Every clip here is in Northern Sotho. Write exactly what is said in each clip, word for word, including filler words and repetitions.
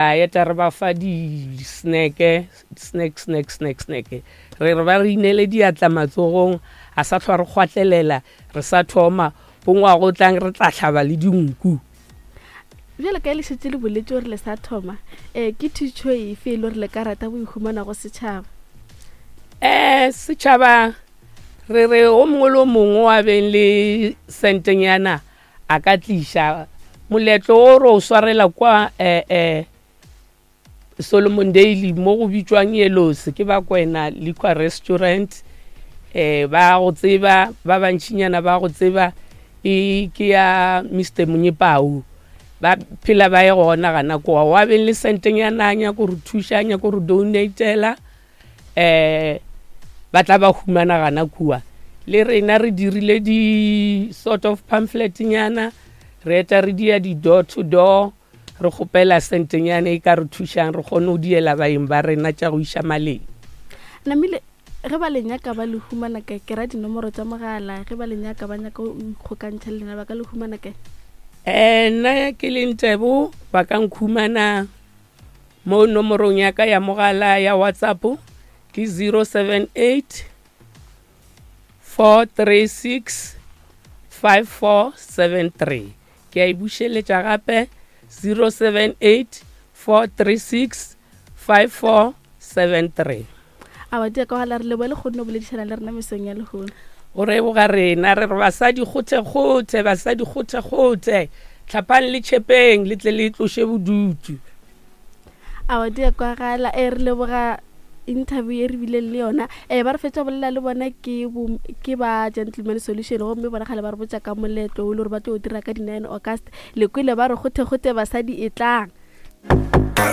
Eta re ba fa di-snack, snack, snack, snack, snack. Re re ba re inele diatla matsogong, a sa hlwa re kgwatlelela, re sa thoma, bo ngwaga o tlang re tla hlaba le dinku. Bjale ka le šetše le boletše gore le sa thoma, um ke thušo efe e le gore le ka rata go e humana go setšhaba? Um setšhaba re re o mongwe le o mongwe wa beng le sentenyana a ka tliša moletlo o re o swarela kwa um um Solomon Daily mo go bitšwang Yellows ke ba Kwena Liquor Restaurant. Eh ba go tseba ba bantšinyana ba go tseba e ke ya Mister Monyepao, ba phela ba ye gona gana koa. Wa beng le sentenyana a nyako re thuša, a nyako re donatela, eh ba tla ba humana gana kua. Le rena re dirile di sort of pamphlet nyana, re eta re dia di door to door, re kgopela sentenyana e ka re thušang re kgone go diela baeng ba rena tša go iša maleng. Namile ge ba le nyaka ba le humana kae? Ke ra dinomoro tša mogala, ge ba le nyaka ba nyaka go ikgokantšha le lena ba ka le humana kae? Eh nna ke le Ntebo, ba ka nkhumana mo nomorong ya ka ya mogala ya WhatsApp ke zero seven eight four three six five four seven three. Ke a e bušeletša gape zero seven eight four three six five four seven three. A wa dia ka gala re lebohe le kgonne go boledišana le rena mesong ya lehono. Go reboga rena, re re basadi kgothe-kgothe, basadi kgothe-kgothe, tlhapang le tšhepeng le tle le tloše bodutu. A wa dia kwa gala, e re leboga interview e re bileng le yona. Eh ba re fetša bolela le bona ke bo, ke ba Gentleman Solution, gomme bona kgale ba re botša ka moletlo o le gore ba tlo o dira ka di-nine August. Le kwele ba re kgothe-kgothe basadi e tlang.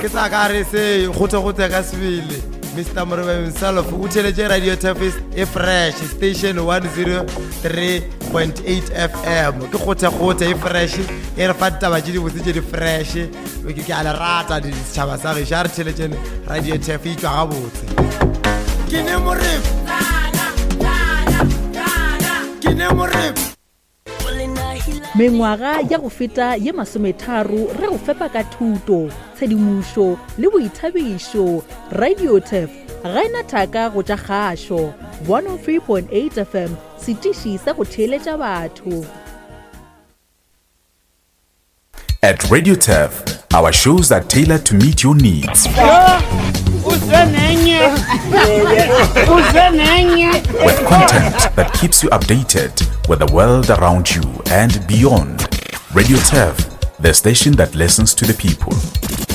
Ke sa ka re se kgothe-kgothe ka sebele. Mister Morebe himself o theletše Radio Turfis e fresh station one zero three point eight F M. Ke kgothe-kgothe e fresh, e re fa ditaba tše dibotse tše di fresh. Ke, ke a le rata di setšhaba sa gešo, a re theletšeng Radio Turf e tšwa gabotse. Ke ne Morebe. Ke ne Morebe. Mengwaga ya go feta ye masometharo re go fepa ka thuto, tshedimošo le boithabišo. Radio Turf ga ena thaka go tša kgašo. one oh three point eight F M, setiši sa go theeletša batho. At Radio Turf, our shows are tailored to meet your needs. With content that keeps you updated with the world around you and beyond. Radio Turf, the station that listens to the people.